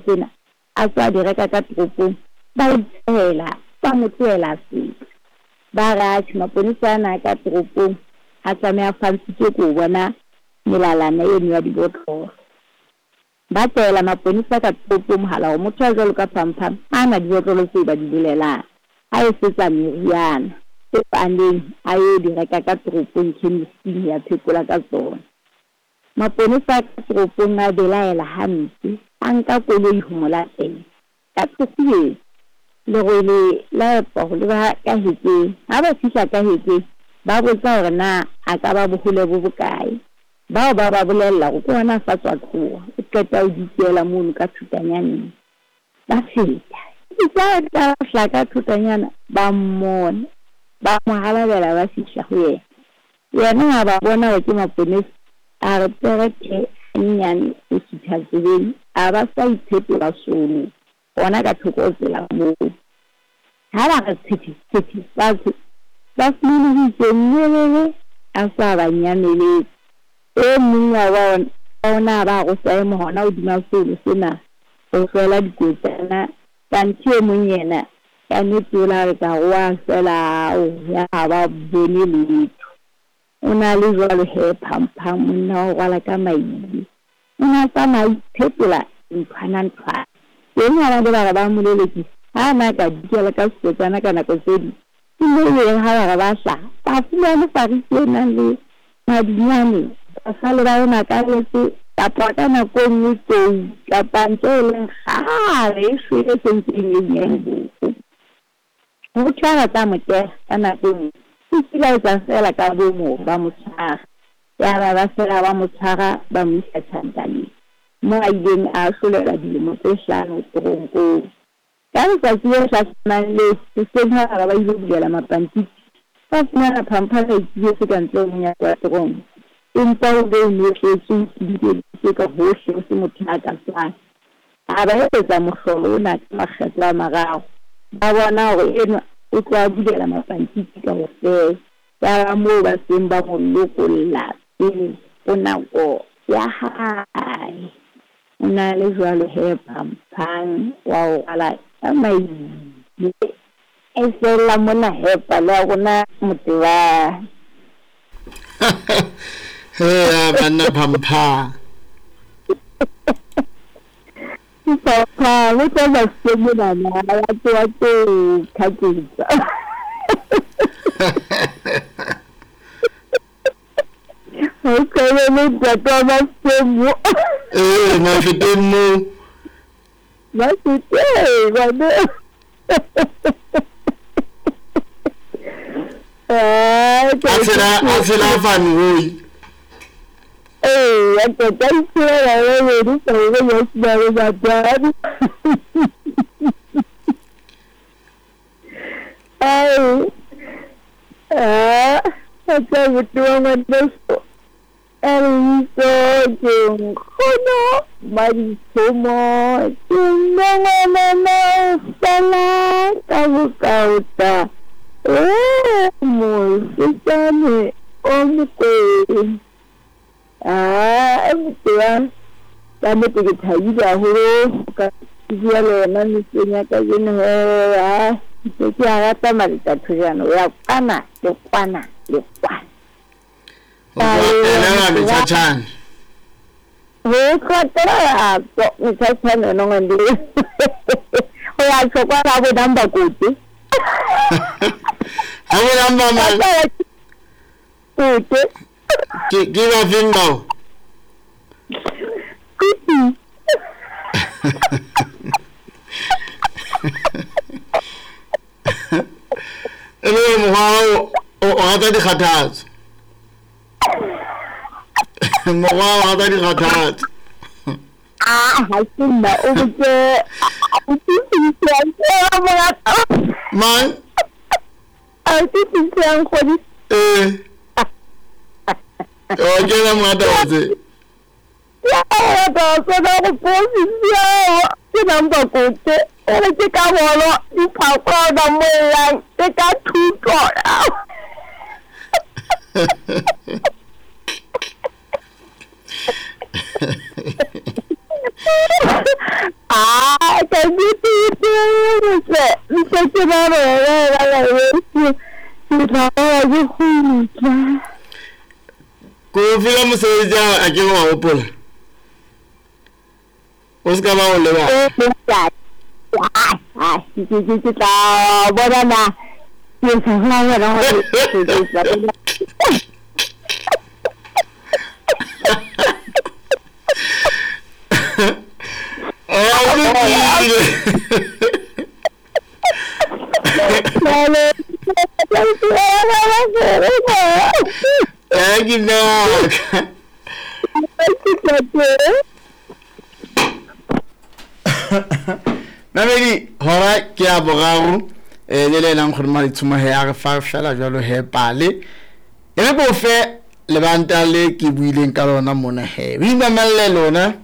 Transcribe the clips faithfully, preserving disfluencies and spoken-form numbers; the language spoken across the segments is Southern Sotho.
Tsena a tswa di reka ka toropong, ba itshehela, ba mo tlohela feta. Ba re atjhe, maponesa ana a ka toropong a tlameha a fantshitswe ke ho bona melalana eno ya dibotlolo. Ba tlohela maponesa ka toropong mohala hore motho a jwalo ka Phampham ha ana dibotlolo tseo ba di bolelang, a etsetsa meriana tseo a neng a yo di reka ka toropong chemist-ing ya phekola ka tsona. Maponesa a ka toropong a belaela hampe, a nka koloi ho mo latela. Ka qhekanyetsa lerwele la epa ho leba ka hekeng. Ha ba fihla ka hekeng, ba botsa hore na a ka ba bohole bo bokae. Bao ba ba bolella hore ke hona a sa tswa tloha, o qeta ho dikela mono ka thutanyaneng. Ba feta. Itse ha ba fihla ka thotanyana, ba mmona, ba mo halabela, ba fihla ho yena. Yena ha ba bona hore ke maponesa, a re perethe hanyenyane ho sutha tseleng, a ba sa iphetola solo hona ka thoko ho tsela moo. Ha ba re tshwethe tshwethe fatshe, ba fumane ho itse nyelele a sa ba nyameletse. E mong wa bona ona ba re o sa ema hona hodima solo sena ho hlwela dikotana, kanthe e mong yena ka nnete o la re ka re wa hlwela ao, ya ha ba bone letho. O na le jwalo he Phampham, monna wa ho rwala ka maile. O na tsamaya a iphetola nthwana nthwana. Teng ha ba ne ba re ba mo lelekisa, ha na ka dikela ka sekotsana ka nako tse ding. E ne e ha ba re ba hlaha, ba fumane fariki e nang le madinyane, ba sale ba ema ka letse, kapa ka nako e nngwe tou, kapa ntho e leng kgale e shwele e sentse e nyenyane boko. Ho thwe ha ba tla mo teha ka nako e nngwe, o kile a etsa feela ka bomo ba mo tshwara. Yaba ba fela ba mo tshwara, ba mo isa tjhankaneng moo a ileng a ahlolelwa dilemo tse hlano teronkong. Ka letsatsi le hlahlamang leo, hoseng ha ba ba ile bulela mapantiti, ba fumana Phampham a ituletse ka ntle ho monyako wa teronko. Empa o be o notletswe, o tidikeditswe ka hohle, ho se motho a ka tswang. A ba etsetsa mohlolo ona ka makgetlo a mararo. Ba bona hore enwa o tlo a bulela mapantiti kaofela. Yaba moo ba seng ba mo lokolla pele ho nako ya hae. O na le jwalo he Phampham wa ho rwala ka maile. E fella mona he pale ya rona Motebang. He banna Phampham. Phampham o tla ba se monana ya tsoa tse kgaketsa. O tshwane le ntate wa Masemo. Eh, Mafeteng moo. Mafeteng, ngwane. A tshela, a tshela van Rooi. Ee, ntate a itshela ba babedi, sa re ba sena le batjhadi. Ai. Ah, a tla botho wa ngwaneso. A re bitso ke nkgono Maditshomo, ke mme ngwanana o fela ka bokaota. Eh, mosetsane o mokwena. Ah, Motebang, ka nnete ke thabile haholo ka bua le wena mesong ya kajeno he. Ah, ke ke a rata Maletathojana, o ya kwana le kwana le kwana. Ho tloha metjhatjhane. Ho tloha metjhatjhane yona ngwane. Ho ya tjho kwana bo number kote. Ha bo number mang? Kote. Ke ke ba feng bao? Kutu. E le mokgwa o o rata dikgathatso. Mokgwa o rata dikgathatso. Ah, ha se nna o botse o Mang? A ke tsitsang kgodi. Eh. O ke na morata wa tse. Ya rata tsena go posisia ke number kote. O re ke ka bolo diphakwana mo yang ke ka thuto. Ah, ka nnete ke ntse ke ba bona ba weso. Ke tla ya ke kgutla. Ko file mosebetsi a a ke wa hopola. O se ka ba o lebala. Ah, ah, ke ke ke tla bona na. Ke sa bona hore ke tla bona. Ah, o lokile. Eh, ke nna. Mamedi, hora ke ya boraro eh le le leng gore maitshuma he a re fa fela jalo he pale. E re ko fe lebanta le ke buileng ka lona mona he. O imamelle lona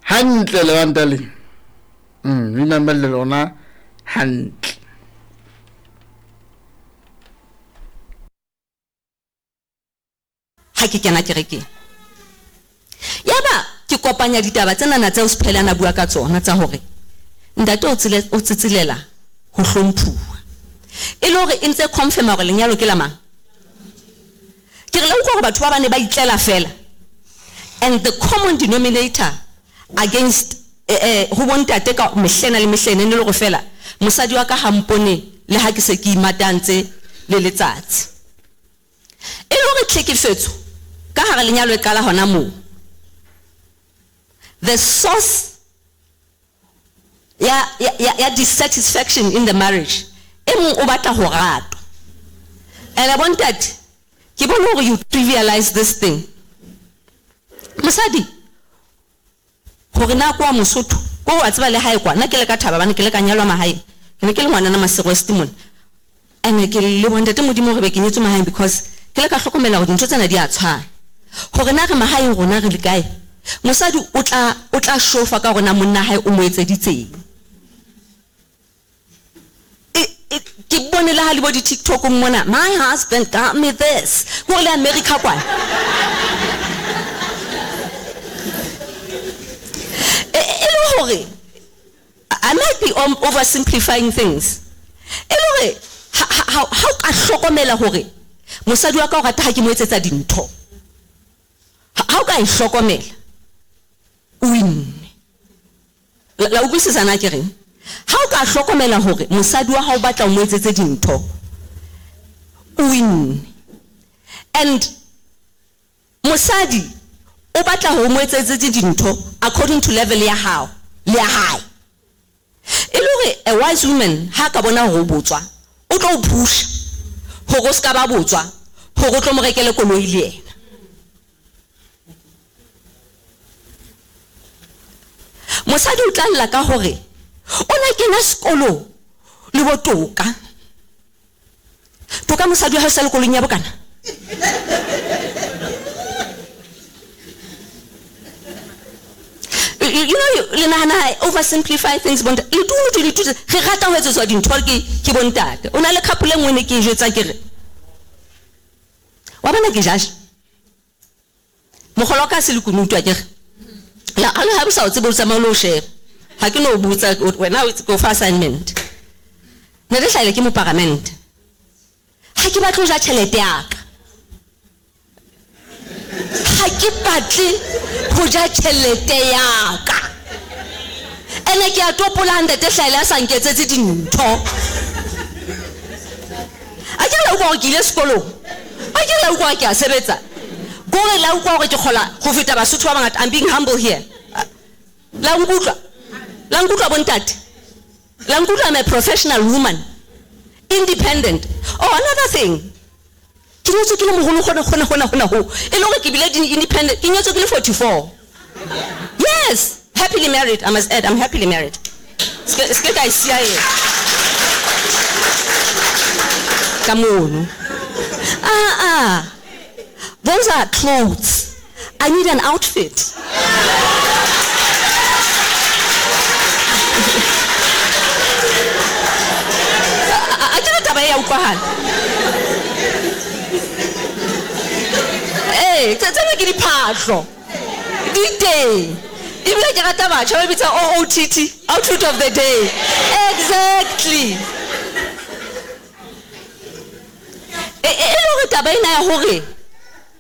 hantle lebanta le. Mm, o imamelle lona hantle. Ha ke kena kerekeng. Yaba ke kopanya ditaba tsena tseo Siphele a bua ka tsona tsa hore ntate o tsile o tsitsilela ho hlomphuwa. E le hore e ntse confirm hore lenyalo ke la mang. Ke re le utlwa hore batho ba bane ba itlela fela. And the common denominator against eh eh ho bontate ka mehlena le mehlena ne le hore fela mosadi wa ka ha mpone le ha ke se ke imatantse le letsatsi. E le hore tlhekefetso ka hara lenyalo e qala hona moo. The source ya ya ya dissatisfaction in the marriage e mong o batla ho ratwa. And bontate ke bone hore you trivialize this thing. Mosadi hore na kwa Mosotho ko wa tseba le hae kwa nna ke le ka thaba bane ke le ka nyalwa mahaeng ke ne ke le ngwana na Masego West mona. And ke le bontate Modimo hore be ke nyetswe mahaeng because ke le ka hlokomela hore dintho tsena di a tshwana. Hore na re mahaeng rona re le kae. Mosadi o tla o tla shofa ka hore na monna hae o mo etseditseng. Ke bone le ha le bo di TikTok mona, my husband got me this. Ko le America kwana. E le hore I might be oversimplifying things. E le hore ha ha o ka hlokomela hore mosadi wa ka o rata ha ke mo etsetsa dintho. Ha o ka e hlokomela o winne. La utlwisisa na ke reng? Ha o ka hlokomela hore mosadi wa hao o batla o mo etsetse dintho, o winne. And mosadi o batla hore o mo etsetse dintho according to level ya hao le ya hae. E le hore a wise woman ha ka bona hore o botswa, o tlo o pusha hore o ska ba botswa, hore o tlo mo rekele koloi le yena. Mosadi o tla lla ka hore o na kena sekolo le bo Toka. Toka mosadi wa hae sa le koloing ya bokana. You know, le nahana oversimplify things bontate. Le dutse le dutse re rata ho etsetswa dintho ke ke bontate. O na le couple e nngwe ne ke e jwetsa ke re wa bona ke judge. Mogolo ka se le kunutu a ke re. La ha le ha sa o tsebe o tsamaya o lo sheba. Ha ke no botsa wena o go fa assignment. Ne re hlaile ke mo parliament. Ha ke batle ho ja tjhelete ya ka. Ha ke batle ho ja tjhelete ya ka. Ene ke a topola ntate hlaile a sa nketsetse dintho. A ke la utlwa hore ke ile sekolong. A ke la utlwa hore ke a sebetsa. Kore la utlwa hore ke kgola ho feta Basotho ba bangata. I'm being humble here. La nkutlwa. La nkutlwa bontate. La nkutlwa I'm a professional woman. Independent. Oh, another thing. Ke nyetswe ke le moholo hona hona hona hona ho. E le hore ke bile independent. Ke nyetswe ke le forty-four. Yes, happily married. I must add, I'm happily married. Ske ske ka sia e. Ka mono. Ah ah. Those are clothes. I need an outfit. A ke taba ya utlwahala. Eh, tsena ke diphahlo. Di teng. Ebile ke rata batjha ba bitsa O O T T, outfit of the day. Exactly. E e le hore taba ena ya hore